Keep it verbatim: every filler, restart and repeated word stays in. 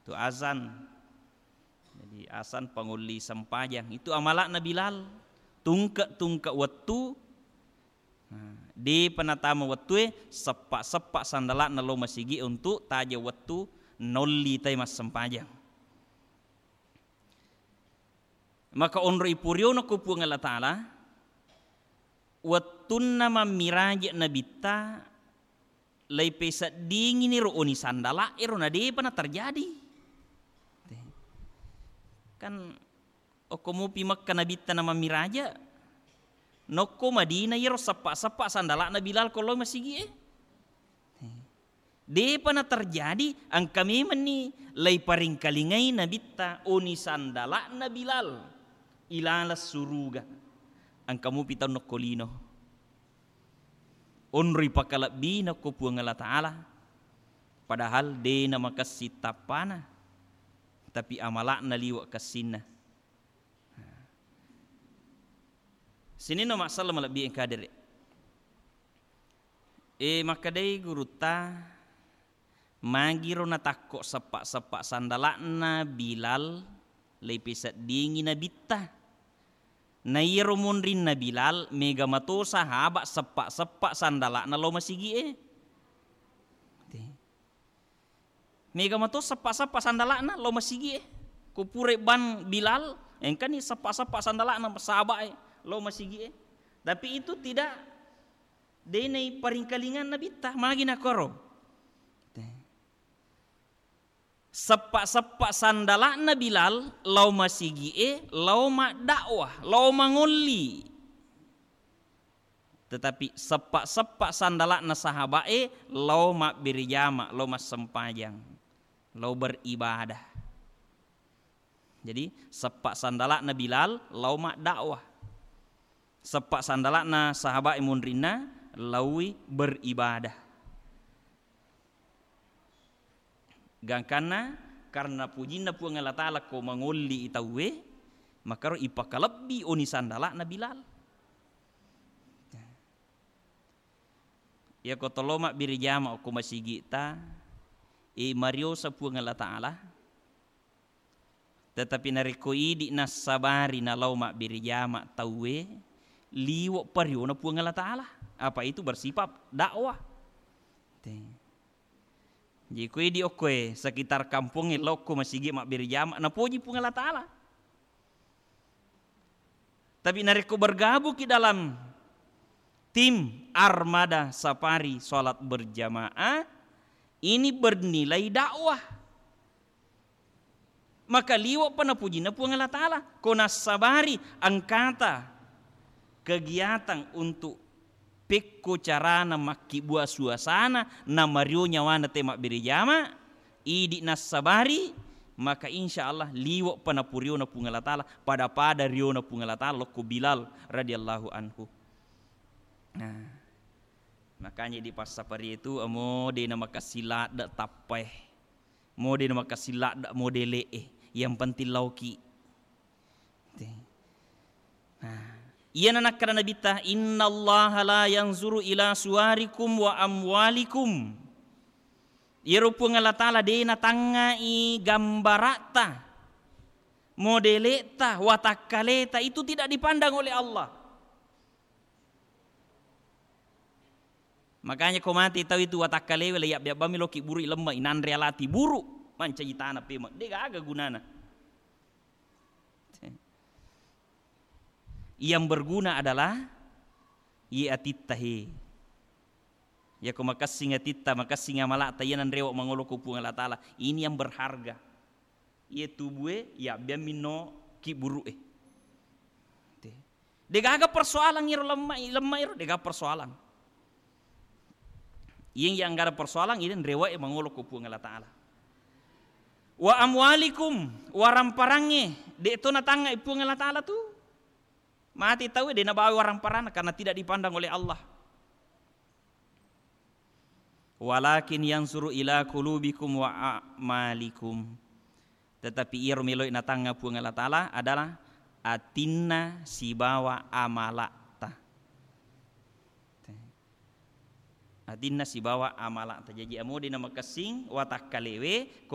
Tu azan. Jadi, azan pangolli sempajang. Itu amala'na Bilal. Tungke-tungke wettu. Nah, depa natama wettue, seppa-seppa sandala'na lao masigi untuk taja wettu nolli tai massempajang. Maka onroi puriono ko Puang Allah Ta'ala, wettunna mammiraje Nabitta, laipeseddingini ro oni sandala ero, na depa na terjadi. Kan okko mupi Mekka Nabitta na mammiraje, nokko Madinah iyaro seppa-seppa sandala'na Bilal ko lao masigi e. Depa na terjadi, engka memenni laiparingkalingai Nabitta oni sandala'na Bilal ilaleng suruga. Engka mupi tau nokko lino. Onroi pakalebbina ko Puang Allah Ta'ala, padahal de na makessing tappana, tapi amala'na liwe' kessinna. Sininna masalah malebbi engka dere. E, makkedai gurutta, magiro natakko seppa-seppa sandala'na Bilal, laipeseddingi Nabitta. Na iyaro munrinna Bilal, mega mato sahaba seppa-seppa sandala'na lao masigi e. Te. Mega mato seppa-seppa sandala'na lao masigi e. Ko pura ban Bilal, engkani seppa-seppa sandala'na sahaba e lao masigi e. Tapi itu tidak, de naiparingkalingang Nabitta, magi nakoro. Te. Seppa-seppa sandala'na Bilal lao masigi e, lao maddakwah, lao mangolli. Tetapi seppa-seppa sandala'na sahaba e lao mabbere jama, lao massempajang, lao beribadah. Jadi, seppa sandala'na Bilal lao maddakwah. Seppa sandala'na sahaba e munrinna laoi beribadah. Gangkanna karena pujinna Puang Allah Ta'ala ko mangolli i tauwe, makaro ipakalebbi oni sandala'na Bilal. Iyako tolo mabbere jama okko masigi'ta, e, mariosa Puang Allah Ta'ala, tetapi narekko idi nassabari nalao mabbere jama tauwe, liwe' pariona Puang Allah Ta'ala. Apa itu bersifat dakwah. Te. Jadi ko idi okkoe sekitar kampongnge lokko masigi mabbere jama, napoji Puang Allah Ta'ala. Tapi narekko bergabung ki dalam tim armada safari salat berjamaah, ini bernilai dakwah. Maka liwe' pa napujinna Puang Allah Ta'ala. Ko nassabari engkata kegiatan untuk pekko carana makkibbua suasana, namario nyawana te mabbere jama, idi nassabari, maka insya Allah liwe' pa napuriona Puang Allah Ta'ala, pada-pada riona Puang Allah Ta'ala lokko Bilal radhiyallahu anhu. Nah, makanya di passafari itu, amo de na makessing ladde tappae. Mo de na makessing ladde modele'e, yang penting laoki. Te. Nah, iyana nakkeda Nabitta, "Innallaha la yanzuru ila suwarikum wa amwalikum." Iyaro Puang Allah Ta'ala de natangngai gambara'ta, modele'ta, watakkaleta, itu tidak dipandang oleh Allah. Makanya ko mate tau itu watakkalewe, le yabbe-, yabbami loki buru i lemma, inanre alati buru, mancaji tana pemeng, de gaga gunana. Yang berguna adalah ye atitta he. Yako makessing atitta, makessing amala'ta, iya nanrewa mangolo ko Puang Allah Ta'ala. Ini yang berharga. Iye tubue yabbeang minno kibburu'e. Te. Degaga persoalan iro lemma, lemma iro, degaga persoalan. Iyeng yang gada persoalan, ini rewe'e mangolo ko Puang Allah Ta'ala. Wa amwalikum, waramparangnge, de to natangngai Puang Allah Ta'ala tu. Mati tau de nabawa waramparanna karena tidak dipandang oleh Allah. Walakin yansuru ila qulubikum wa a'malikum. Tetapi iyaro melo'i natangnga Puang Allah Ta'ala adalah atinna sibawa amala'ta. Atinna sibawa amala'ta. Jaji amo de namakessing watakkalewe, ko